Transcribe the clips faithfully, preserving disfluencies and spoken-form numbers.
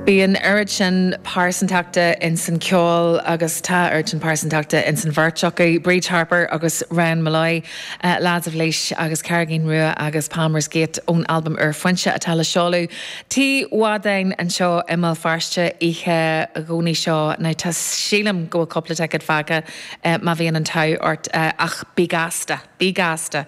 Bíonn oiread sin pearsantachta in san ceol agus tá oiread sin pearsantachta in san bheirt acu, Bríd Harper agus Ryan Molloy, uh, Lads of Laois agus Carraigín Rua agus Palmer's Gate ón albam úr Foinse atá le seoladh. Tigh Mhadáin anseo i mBéal Feirste oíche Dhomhnaigh seo na tá sílim go bhfuil cúpla ticéad fágtha uh, má bhíonn an t-ádh ort uh, ach bí gasta, bí gasta.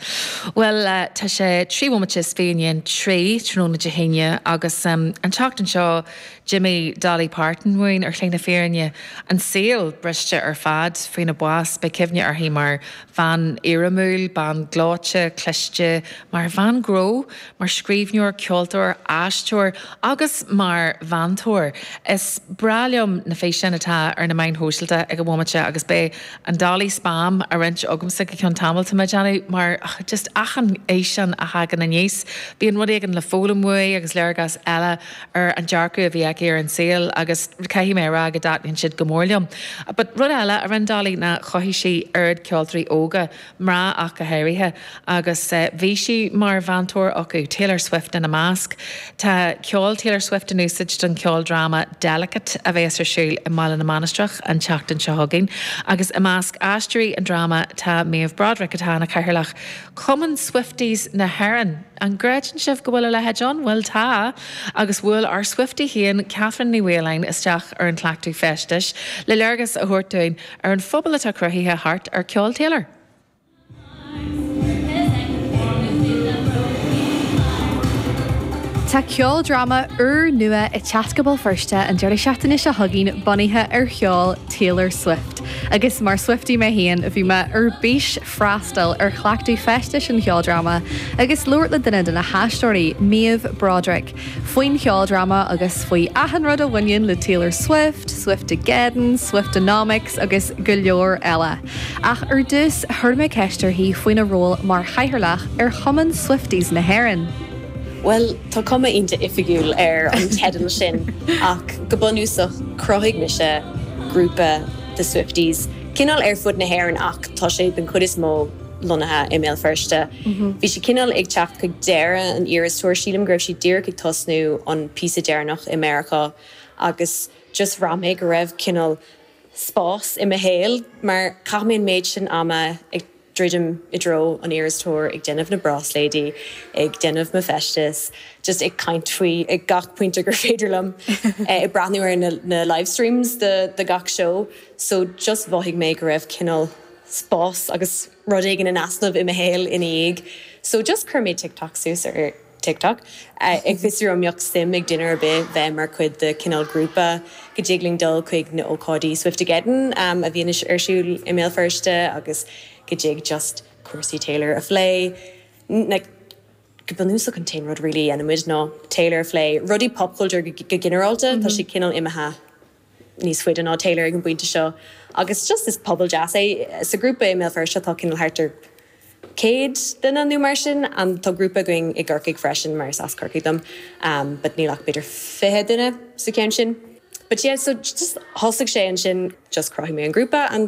Well uh, tá sé trí bhomaite is fiche i ndiaidh a trí tráthnóna Dé hAoine agus um, an tseachtain seo d'imigh Dolly Parton uainn ar shlí na fírinne an saol briste ar fad faoina bás beidh cuimhne uirthi mar bhean éirimiúil, bean gleoite, cliste, mar bhean gnó, mar scríbhneoir, ceoltóir, aisteoir agus mar mheantóir. Is breá liom na físeáin atá ar na meáin shóisialta ag an bhomaite agus beidh an Dolly spam a roinnt agamsa go ceann tamaill tá mé ag déanamh mar just achan fhíseán a thagann aníos. Bíonn rud éigin le foghlaim uaidh agus léargas eile ar an dearcadh a bhí aici ar an saol agus caithfidh mé rá go dtaitníonn siad go mór liom. But rud eile a rinne Dolly ná chothaigh sí oiread ceoltóirí óga mná ach go háirithe agus uh, bhí sí mar mheantóir acu Taylor Swift ina measc. Tá ceol Taylor Swift in úsáid don ceoldráma Delicate a bheas ar siúl i mBaile na Mainistreach an tseachtain seo chugainn, agus i measc aisteoirí an dráma tá Méabh Broderick atá ina cathaoirleach Cumann Swifties na hÉireann. An gcreideann sibh go bhfuil a leithéid ann bhfuil tá, agus bhuail ár Swiftie féin Catherine Ní Mhaoláin isteach ar an cleachtadh feistis, le léargas a thabhairt dúinn ar an phobal atá cruthaithe thart ar ceol Taylor. Tá ceoldráma úr nua ag teacht go Béal Feirste an deireadh seachtaine seo chugainn bunaithe ar cheol Taylor Swift. Agus mar Swiftie mé féin a bhí mé ar bís freastal ar chleachtadh feistis an cheoldráma agus labhairt le duine de na haisteoirí Méabh Broderick, faoin cheoldráma agus faoi achan rud a bhaineann le Taylor Swift, Swiftageddon, Swiftonomics agus go leor eile. Ach ar dtús chuir mé ceist uirthi faoina ról mar chathaoirleach ar Chumann Swifties na hÉireann. Well tá cuma iontach oifigiúil ar an teideal sin ach go bunúsach chruthaigh mise grúpa de Swifties. Cineál ar fud na hÉireann ach tá sé den chuid is mó lonnaithe i mBéal Feirste. Bhí sé cineál ag teacht chuig deireadh an Eras Tour sílim go raibh sí díreach ag tosnú an píosa deireanach i Meiriceá agus just bhraith mé go raibh cineál spás i mo shaol mar chaith mé an méid sin ama ag druidim i dtreo an Eras Tour ag déanamh na bráisléidí, ag déanamh mo feistis, just ag caint faoi ag gach pointe gur féidir liom ag breathnú ar na, na live streams de, de gach show. So just mhothaigh mé go raibh cineál spás agus rud éigin in easnamh i mo shaol ina dhiaidh. So just chuir mé TikTok suas ar TikTok. Uh, ag fiosrú an mbeadh suim ag duine ar bith bheith mar chuid de cineál grúpa go dtig linn dul chuig na ócáidí Swiftageddon um, a bhíonn ar siúl i mBéal Feirste agus go dtig just cúrsaí Taylor a phlé. Like, go bunúsach an t-aon rud really a dhéanaimid ná Taylor a phlé rudaí popculture go, go ginearálta mm -hmm. Tá sé cineál imithe níos faide ná Taylor ag an bpointe seo agus just is pobal deas é sa grúpa i mBéal Feirste tá cineál thart ar céad duine nó mar sin an tá grúpa againn i gCorcaigh freisin mar is as Corcaigh dom um, but níl ach b'fhéidir fiche duine sa ceann sin. But yeah, so just thosaigh sé ansin just chruthaigh mé an grúpa an